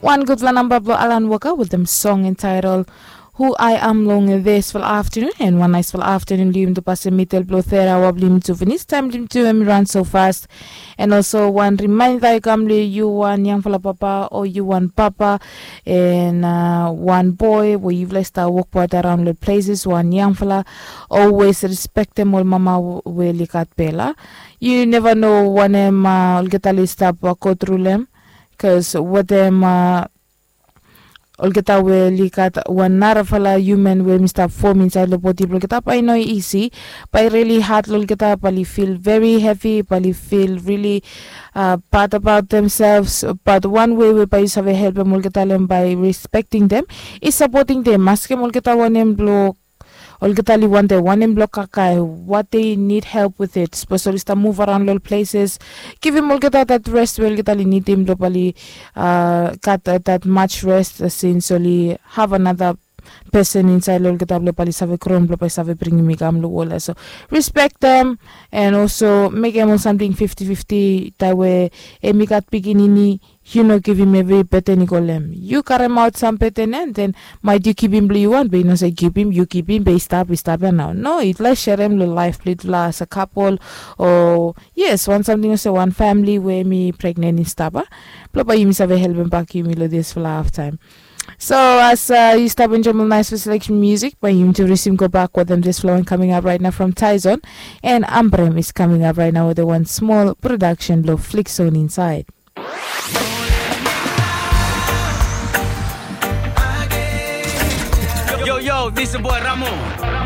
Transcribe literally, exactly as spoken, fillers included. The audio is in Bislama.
Wan gudfala namba blong Alan Walker wetem song entitled Who I Am long disfala aftanun. And wan naisfala aftanun blong yumi tu pasim midel blong tera aoa blong yumi tu finis. Taim blong yumi tu em i ran so fast. And also wan rimainda i kam long yu wan yangfala papa o yu wan papa, and uh, wan boy we yufala i stap wokbaut araun long places, wan yangfala, always respektem ol mama we oli gat bel. Yu neva no wanem uh, olgeta oli stap uh, go tru long em. Bikos wetem uh, olgeta we oli gat wan narafala human we mi stap fom insaed long bodi blong olgeta, bae i no isi. Bae i rili had long olgeta, bae oli fil veri hevi, bae oli fil rili uh, bad abaot demsels. Bat wan wei we bae yu save helpem olgeta long em bae respekting dem, i sapoting dem, askem olgeta wanem blong olgeta oli wantem, wanem blong kakae, what they need help with it. Sapos oli stap muv araon long ol places, givim olgeta dat rest we olgeta oli nidim blong bae oli uh, gat uh, dat much rest uh, since oli have another person insaed long olgeta blong bae oli save grom blong bae oli save bringim i kam long wol ya. So respektem, and also mekem ol samting fifti fifti, tae we em i gat pikinini, yu no givim evri beten i go long em. Yu karemaot sam beten ya, and then maet yu givim blong yu wan, be yu no save givim, yu givim, be i stap, i stap ya nao. No, yufala i serem long laef blong yufala as a kapol, o yes, wan samting olsem wan famili we em i pregnen i stap ya, blong bae yumi save helpem bak yumi long disfala haftaem. So as uh, yu stap enjoem ol naesfala selection music, bae yumi tu risim gobak wetem disfala wan coming up right now from Tyson, and Ambrem is coming up right now with a one small production blong Flick Zone insaed. Yo, yo, this is boy Ramo.